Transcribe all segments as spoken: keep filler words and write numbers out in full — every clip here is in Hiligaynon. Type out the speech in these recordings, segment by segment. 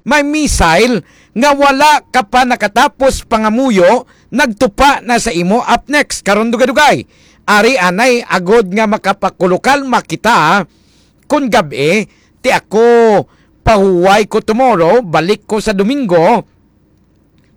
May missile nga wala ka pa nakatapos pangamuyo, nagtupa na sa imo. Up next, karon dugay-dugay. Ari anay agod nga makapakulukalma kita, kun gab-i, ti ako pahuway ko tomorrow, balik ko sa Domingo,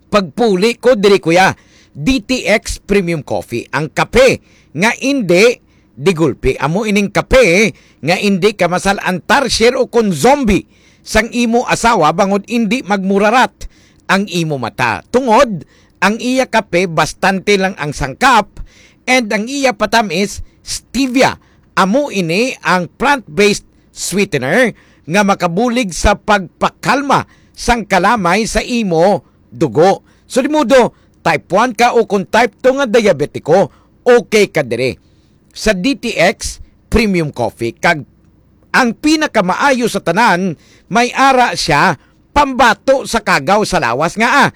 pagpuli ko diri, kuya. D T X Premium Coffee, ang kape nga indi digulpi. Amo ining kape nga indi ka masal-an tarsier o kon zombie sang imo asawa bangod indi magmurarat ang imo mata. Tungod ang iya kape, bastante lang ang sangkap, and ang iya patamis, stevia. Amo ini ang plant-based sweetener nga makabulig sa pagpakalma sang kalamay sa imo dugo. So, di modo, type one ka o kung type two nga diabetiko, okay ka diri sa D T X Premium Coffee. Kag ang pinakamaayo sa tanan, may ara siya pambato sa kagaw sa lawas nga, ah,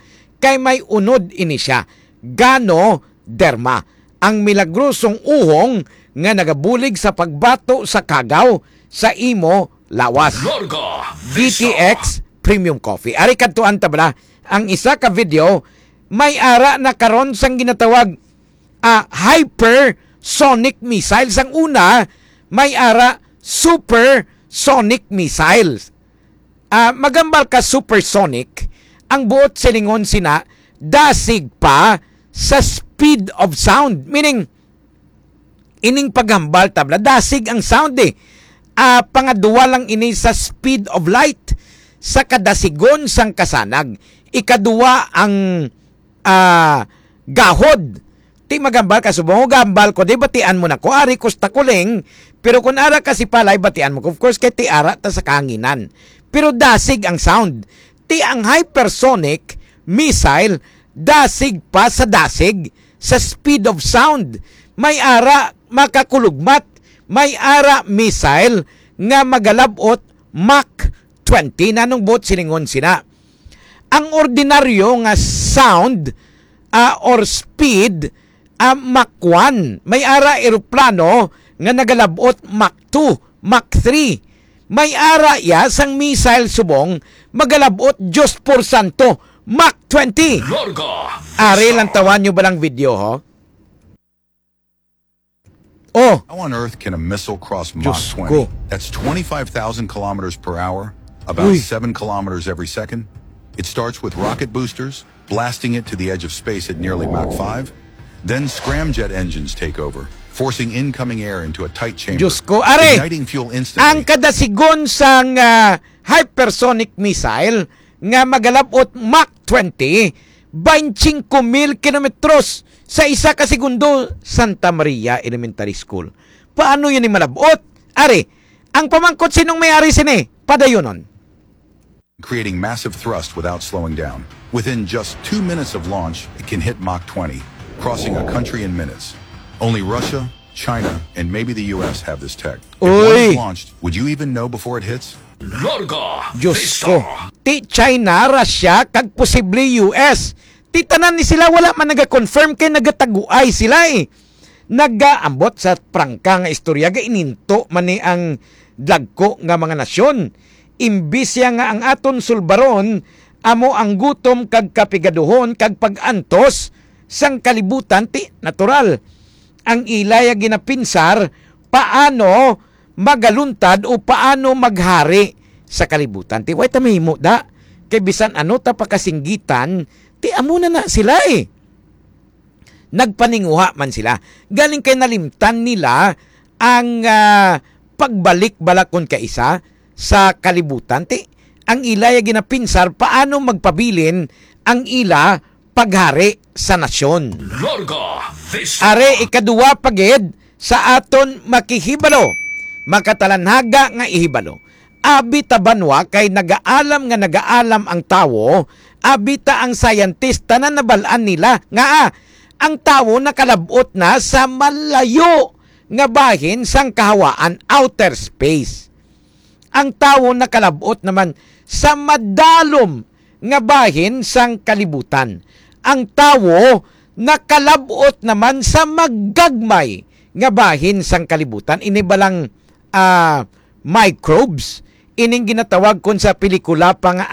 kay may unod ini siya, Ganoderma, ang milagrosong uhong nga nagabulig sa pagbato sa kagaw sa imo lawas. Larga Vista. D T X Premium Coffee. Ari, kadtuan ta bala ang isa ka video, may ara na karon sang ginatawag, ah, hypersonic missiles. Ang una, may ara supersonic missiles. Ah, magambal ka supersonic, ang buot silingon sina, dasig pa sa speed of sound. Meaning, ining paghambal tabla, dasig ang sound eh. Ah, pangadua lang ini sa speed of light, sa kadasigon sang kasanag. Ikadua ang, ah, gahod. Ti magambal ka subong, gambal ko, di batian mo na ko, ari ko sa Takuling, pero kung ara ka si Palay, batian mo ko. Of course, kay ti ara ta sa kahanginan. Pero dasig ang sound. Ti ang hypersonic missile, dasig pa sa dasig sa speed of sound. May ara makakulugmat, may ara missile nga magalabot Mach twenty. Nanong buot silingon sina? Ang ordinaryo nga sound, ah, or speed, ah, Mach one. May ara eroplano nga nagalabot Mach two, Mach three. May ara iya sang missile subong magalabot, Diyos por santo, Mach twenty. Larga Are, Vista. Lantawan nyo ba lang video, ho? Oh. How on earth can a missile cross Mach Diyos twenty? Ko. That's twenty-five thousand kilometers per hour, about Uy. seven kilometers every second. It starts with rocket boosters, blasting it to the edge of space at nearly Mach five. Then scramjet engines take over, forcing incoming air into a tight chamber, Diyos ko. Are, igniting fuel instantly. Ang kadasigon sang, ah, hypersonic missile nga magalabot Mach twenty, twenty-five mil kilometros sa isa ka segundo, Santa Maria Elementary School. Paano yun malabot? Ari, ang pamangkot, sinong may-ari sini? Padayonon. Creating massive thrust without slowing down. Within just two minutes of launch, it can hit Mach twenty, crossing a country in minutes. Only Russia, China, and maybe the U S have this tech. If one is Uy. launched, would you even know before it hits? Larga Diyos Vista. Ko. Ti China, Russia, kag posible U S. Ti tanan ni sila wala man naga-confirm kay nagataguay sila eh. Nagaambot sa prangka nga istorya, gaininto man ni ang dagko nga mga nasyon. Imbis ya nga ang aton sulbaron amo ang gutom kag kapigaduhon kag pag-antos sang kalibutan, ti natural ang ila ya ginapinsar paano magaluntad o paano maghari sa kalibutan. Ti way ta mahimo da, kay bisan ano ta pakasinggitan, ti amo na na sila eh. Nagpaninguha man sila. Galing kay nalimtan nila ang, ah, pagbalik bala kon kaisa sa kalibutan. Ti, ang ila ya ginapinsar paano magpabilin ang ila paghari sa nasyon. Larga Vista. Are, ikaduwa pa gid sa aton makihibalo, makatalanhaga nga ihibalo. Abi ta banwa kay nagaalam nga nagaalam ang tawo, abi ta ang scientist, tanan nabal-an nila nga, ah, ang tawo nakalab-ot na sa malayo nga bahin sang kahawaan, outer space. Ang tawo nakalab-ot naman sa madalom nga bahin sang kalibutan. Ang tawo nakalab-ot naman sa magagmay nga bahin sang kalibutan. Ini balang, ah, microbes, ining ginatawag kon sa pelikula pa nga